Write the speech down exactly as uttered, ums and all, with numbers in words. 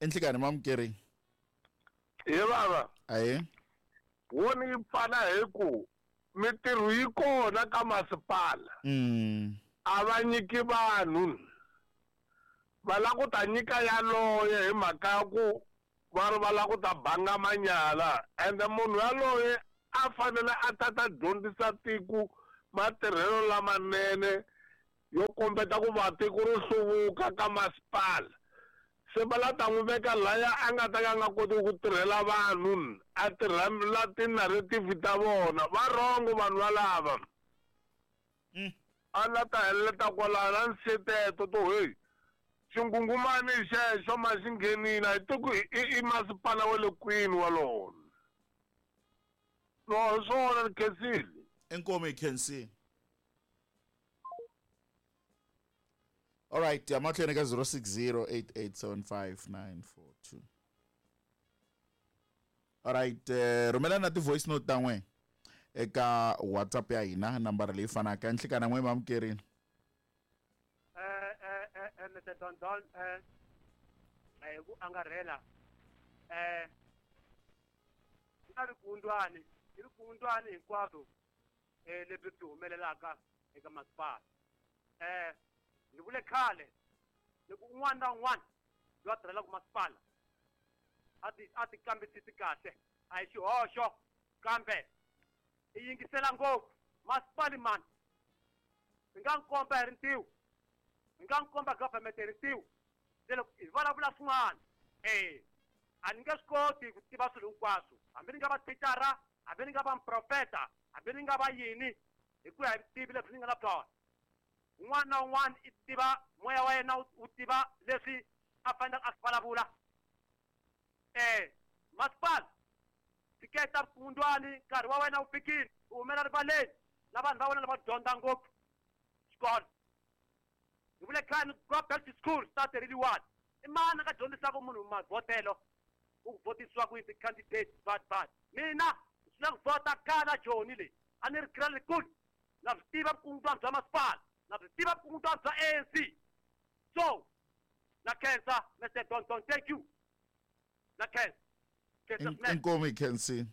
Enhlikani mamukeri. Hi baba. Aye. Woni yi pfala hi ku mitirho yi kona ka masipala. Mm. A va nyiki vanhu. Va lava ku ta nyika yaloye hi mhaka ya ku va ri va lava ku ta banga manyala. Ende munhu yaloye a fanele a ta ta dyondzisa tiko matirhelo lamanene yo kombeta ku va tiko ri hluvuka ka masipala. Se va la ta n'wi veka laya a nga ta ka a nga koti ku tirhela vanhu, a tirhela ti-narrative ta vona. Va wrong vanhu valava. Mm. A la ta heleta kwalano na nseteto to hey xingungumani xexo ma xi nghenile a hi tiku i, i masipala wa le kwini walowo. No, hi swona ni khensile. Inkomu hi khensile. All right, ya mahlweni ka zero six zero eight eight seven five nine four two. All right, eh, rhumela na ti-voice note ta n'we eka WhatsApp ya hina, nambara leyi fanaka. Nhlikana n'we mamukerini. Eh, eh, eh, eh, Mister Don Don, eh, eh, ku angarhela. Eh, na rikundwani, i rikundwani hinkwaswo, eh, lebyi byi humelelaka eka masipala. Eh, ni vule khale loko un'wana na un'wana loyi a tirhelaka masipala a ti, a ti kambisisi kahle, a hi xihoxo, kambe i yingisela ngopfu. Masipala mani, hi nga n'wi komba hi rintiho, hi nga n'wi komba government hi rintiho, se loko hi vulavula swin'wana, eh, a ni nge swi koti ku tiva swilo hinkwaswo, hambi ni nga va thicara, hambi ni nga va muprofeta, hambi ni nga va yini, hi ku ya hi vutivi lebyi ni nga na byona. Un'wana na un'wana i tiva moya wa yena, wu tiva leswi a faneleke a swi vulavula. Eh, masipala, tshiketa vukungundwani, nkarhi wa wena wu fikile, u humela rivaleni na vanhu va wena lava dyondza ngopfu xikolo. Hi vule khale, go back to school, start really one. I mani a nga dyondzisaka munhu mavhotelo, ku vhotisiwa ku yini ti-candidate, bad, bad. Mina, swi na ku vhota khale Joni leyi, a ni ri grade na swi tiva vukungundwani bya masipala, na swi tiva vukungundwani bya A N C. So, na khensa, Mister Don Don, thank you. Na khensa. Khensa swinene. Inkomu hi khensile.